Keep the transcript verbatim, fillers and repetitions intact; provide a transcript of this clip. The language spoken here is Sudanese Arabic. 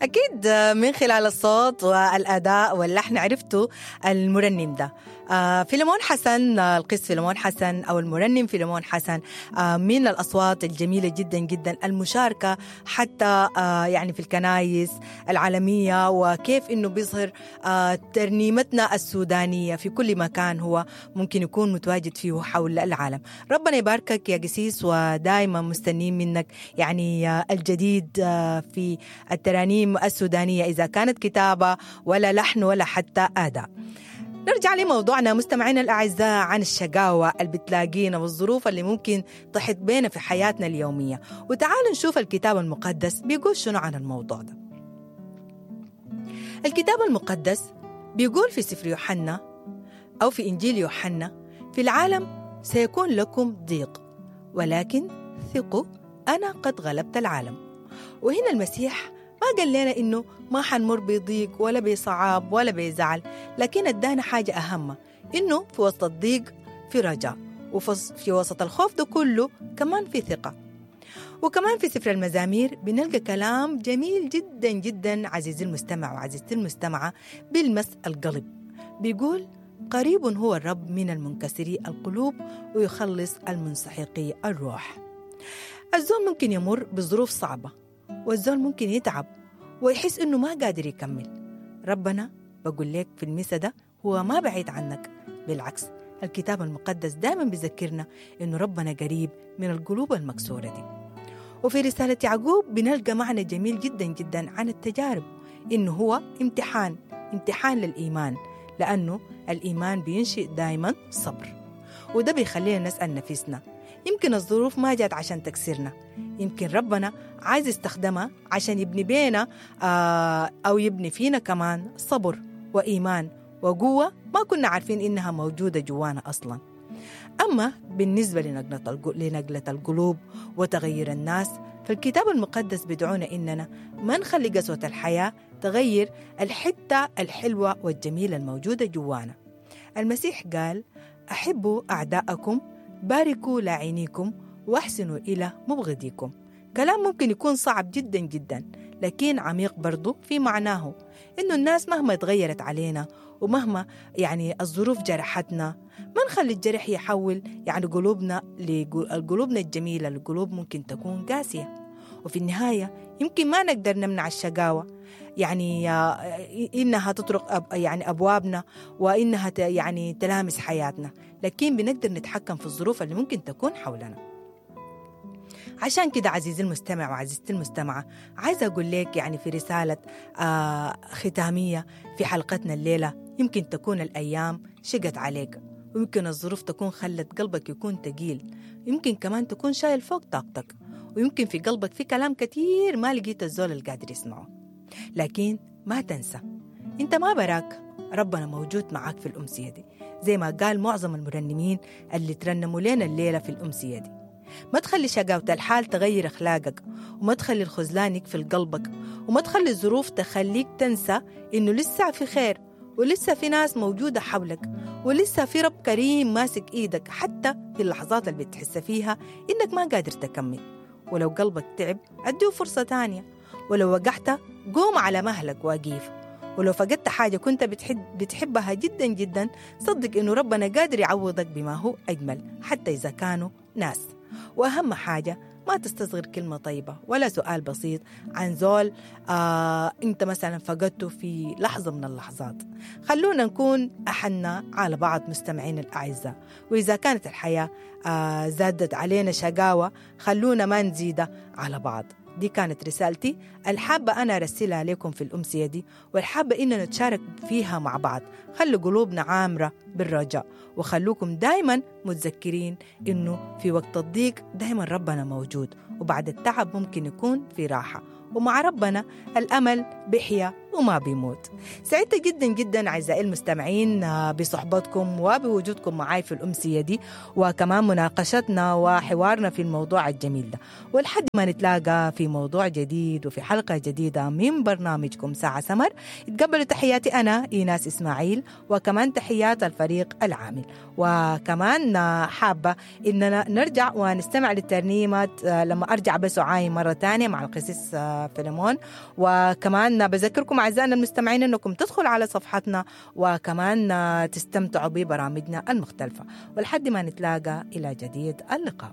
أكيد من خلال الصوت والأداء واللحن عرفتوا المرنم ده. آه فيلمون حسن، القس فيلمون حسن أو المرنم فيلمون حسن، آه من الأصوات الجميلة جدا جدا المشاركة حتى آه يعني في الكنايس العالمية، وكيف إنه بيظهر آه ترنيمتنا السودانية في كل مكان هو ممكن يكون متواجد فيه حول العالم. ربنا يباركك يا قسيس، ودائما مستنين منك يعني آه الجديد آه في الترانيم السودانية، إذا كانت كتابة ولا لحن ولا حتى أداء. نرجع لموضوعنا مستمعينا الأعزاء عن الشقاوة اللي بتلاقينا والظروف اللي ممكن تحط بينا في حياتنا اليومية، وتعالوا نشوف الكتاب المقدس بيقول شنو عن الموضوع ده. الكتاب المقدس بيقول في سفر يوحنا أو في إنجيل يوحنا: في العالم سيكون لكم ضيق، ولكن ثقوا أنا قد غلبت العالم. وهنا المسيح ما قال لنا إنه ما حنمر بضيق ولا بصعاب ولا بزعل، لكن ادانا حاجة أهم، إنه في وسط الضيق في رجاء، وفي وسط الخوف ده كله كمان في ثقة. وكمان في سفر المزامير بنلقى كلام جميل جدا جدا عزيزي المستمع وعزيزتي المستمعة بيلمس القلب. بيقول: قريب هو الرب من المنكسري القلوب ويخلص المنسحقي الروح. الزول ممكن يمر بظروف صعبة، والزول ممكن يتعب ويحس إنه ما قادر يكمل. ربنا بقول لك في المسا ده هو ما بعيد عنك، بالعكس الكتاب المقدس دائما بيذكرنا إنه ربنا قريب من القلوب المكسورة دي. وفي رسالة يعقوب بنلقى معنى جميل جدا جدا عن التجارب، إنه هو امتحان، امتحان للإيمان، لأنه الإيمان بينشئ دائما صبر، وده بيخلينا نسأل نفسنا يمكن الظروف ما جات عشان تكسرنا، يمكن ربنا عايز يستخدمها عشان يبني بينا أو يبني فينا كمان صبر وإيمان وقوة ما كنا عارفين إنها موجودة جوانا أصلا. أما بالنسبة لنقلة القلوب وتغيير الناس، فالكتاب المقدس بدعونا إننا ما نخلي قسوة الحياة تغير الحتة الحلوة والجميلة الموجودة جوانا. المسيح قال: أحبوا أعداءكم، باركوا لاعينيكم، واحسنوا إلى مبغضيكم. كلام ممكن يكون صعب جدا جدا، لكن عميق برضو في معناه، إنه الناس مهما تغيرت علينا ومهما يعني الظروف جرحتنا، ما نخلي الجرح يحول يعني قلوبنا لقلوبنا الجميلة لقلوب ممكن تكون قاسية. وفي النهاية يمكن ما نقدر نمنع الشقاوة، يعني إنها تطرق يعني أبوابنا وإنها يعني تلامس حياتنا، لكن بنقدر نتحكم في الظروف اللي ممكن تكون حولنا. عشان كده عزيزي المستمع وعزيزتي المستمعة، عايزة أقول لك يعني في رسالة آه ختامية في حلقتنا الليلة، يمكن تكون الأيام شقت عليك، ويمكن الظروف تكون خلت قلبك يكون تقيل، يمكن كمان تكون شايل فوق طاقتك، ويمكن في قلبك في كلام كتير ما لقيت الزول القادر يسمعه. لكن ما تنسى انت ما براك، ربنا موجود معاك في الأمسية دي، زي ما قال معظم المرنمين اللي ترنموا لنا الليلة في الأمسية دي. ما تخلي شقاوة الحال تغير أخلاقك، وما تخلي الخذلان يقفل قلبك، وما تخلي الظروف تخليك تنسى إنه لسه في خير، ولسه في ناس موجودة حولك، ولسه في رب كريم ماسك إيدك حتى في اللحظات اللي بتحس فيها إنك ما قادر تكمل. ولو قلبك تعب أديه فرصة تانية، ولو وقعت قوم على مهلك واقيف، ولو فقدت حاجة كنت بتحب بتحبها جدا جدا صدق إنه ربنا قادر يعوضك بما هو أجمل حتى إذا كانوا ناس. وأهم حاجة ما تستصغر كلمة طيبة ولا سؤال بسيط عن زول آه أنت مثلا فقدته في لحظة من اللحظات. خلونا نكون أحنا على بعض مستمعين الأعزاء، وإذا كانت الحياة آه زادت علينا شقاوة خلونا ما نزيدها على بعض. دي كانت رسالتي الحابة أنا أرسلها لكم في الأمسية دي، والحابة إننا نتشارك فيها مع بعض. خلوا قلوبنا عامرة بالرجاء، وخلوكم دايما متذكرين إنه في وقت الضيق دايما ربنا موجود، وبعد التعب ممكن يكون في راحة، ومع ربنا الأمل بحيا وما بيموت. سعدت جدا جدا أعزائي المستمعين بصحبتكم وبوجودكم معاي في الأمسية دي، وكمان مناقشتنا وحوارنا في الموضوع الجميل ده. ولحد ما نتلاقى في موضوع جديد وفي حلقة جديدة من برنامجكم ساعة سمر، تقبلوا تحياتي أنا إيناس إسماعيل، وكمان تحيات الفريق العامل. وكمان حابة إننا نرجع ونستمع للترنيمة لما أرجع بس أعاين مرة تانية مع القسيس فيلمون. وكمان بذكركم أعزائنا المستمعين أنكم تدخلوا على صفحتنا وكمان تستمتعوا ببرامجنا المختلفة. ولحد ما نتلاقى إلى جديد اللقاء.